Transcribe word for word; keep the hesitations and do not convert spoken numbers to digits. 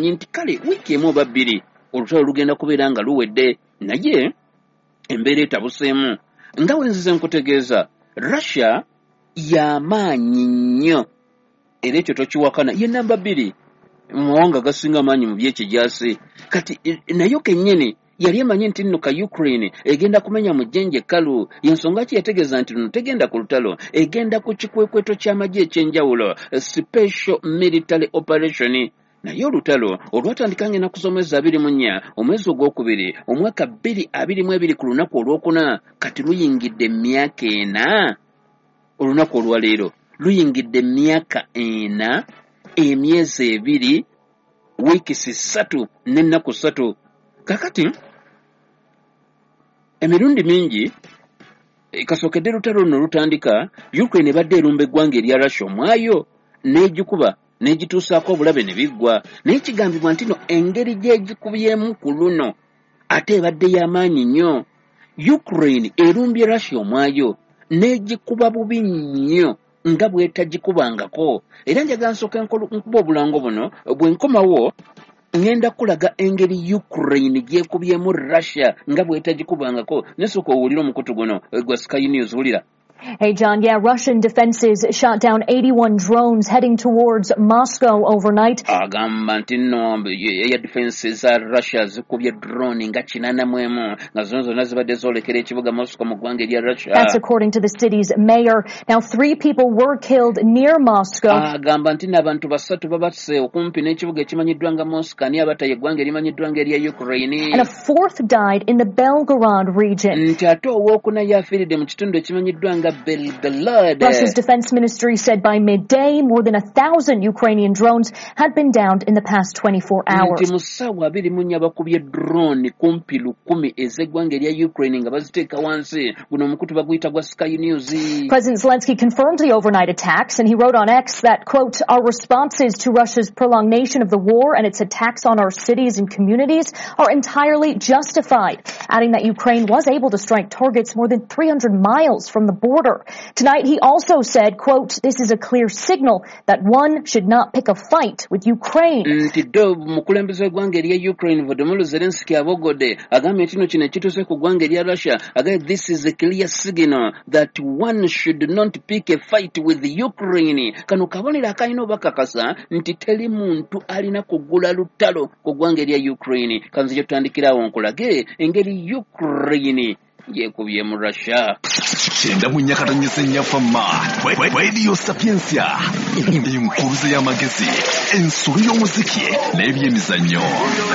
bamanyi nti kale wiiki emu oba bbiri olutalo lugenda kubeera nga luwedde, naye embeera etabuseemu. Nga we nzize nkutegeeza, Russia y'amaanyi nnyo, era ekyo tokiwakana, ye namba bbiri mu mawanga agasinga amaanyi mu byekijaasi. Kati nayo kennyini yali emanyi nti nno ka Ukraine egenda kumenya mu jjenje ekkalu. Y'ensonga ki yategeeza nti luno tegenda ku lutalo, egenda ku kikwekweto ky'amagye eky'enjawulo, special military operation. Naye olutalo olwatandika ng'ennaku z'omwezi abiri mu nnya omwezi ogwokubiri omwaka bbiri abiri mu ebiri ku lunaku olwokuna, kati luyingidde emyaka ena. Olunaku olwaleero luyingidde emyaka ena, emyezi ebiri, wiikisi ssatu n'ennaku ssatu. Kakati emirundi mingi kasookedde lutalo luno lutandika, Ukraine ebadde erumba eggwanga erya Russia omwayo n'egikuba n'egituusaako obulabe ne biggwa. Naye kigambibwa nti no engeri gy'egikubyemu ku luno ate ebadde y'amaanyi nnyo. Ukraine erumbye Russia omwayo n'egikuba bubi nnyo nga bw'etagikubangako. Era njagala nsooke nkuba obulango buno, bwe nkomawo ngenda kulaga engeri Ukraine gy'ekubyemu Russia nga bw'etagikubangako. Nesooka owulire omukutu guno gwa Sky News, wulira. Hey, John. Yeah, Russian defenses shot down eighty-one drones heading towards Moscow overnight. Agamba nti nno air defenses za Russia zikubye drone nga kinaana mu emu nga zino zonna zibadde zoolekera ekibuga Moscow mu ggwanga erya Russia. That's according to the city's mayor. Now, three people were killed near Moscow. Agamba nti n'abantu basatu babasse okumpi n'ekibuga ekimanyiddwa nga Moscow, ni abataye eggwanga erimanyiddwa nga erya Ukraine. And a fourth died in the Belgorod region. Nti ate owookuna yafiiridde mu kitundu ekimanyiddwa nga Belgorod. Russia's defense ministry said by midday more than a thousand Ukrainian drones had been downed in the past twenty-four hours. Nti mu ssaawa abiri mu nnya bakubye drone kumpi lukumi ez'eggwanga erya Ukraine nga baziteeka wansi. Guno omukutu baguyita gwa Sky News. President Zelensky confirmed the overnight attacks, and he wrote on X that, quote, our responses to Russia's prolongation of the war and its attacks on our cities and communities are entirely justified, adding that Ukraine was able to strike targets more than three hundred miles from the border. Tonight, he also said, quote, this is a clear signal that one should not pick a fight with Ukraine. Nti do mukulembeze w'eggwanga erya Ukraine Volodymyr Zelensky abogodde agambye nti no kino ekituuse ku ggwanga erya Russia, agambye this is a clear signal that one should not pick a fight with Ukraine. Kano kabonero akalina obakakasa nti teri muntu alina kugula lutalo ku ggwanga erya Ukraine. Kanzije tutandikirawo nkulage engeri Ukraine yekubye mu Russia. Kyenda mu nyakatonyese nnyafamma Radio Sapientia, enkuruze y'amagezi, ensolo y'omuziki n'ebyemizannyo.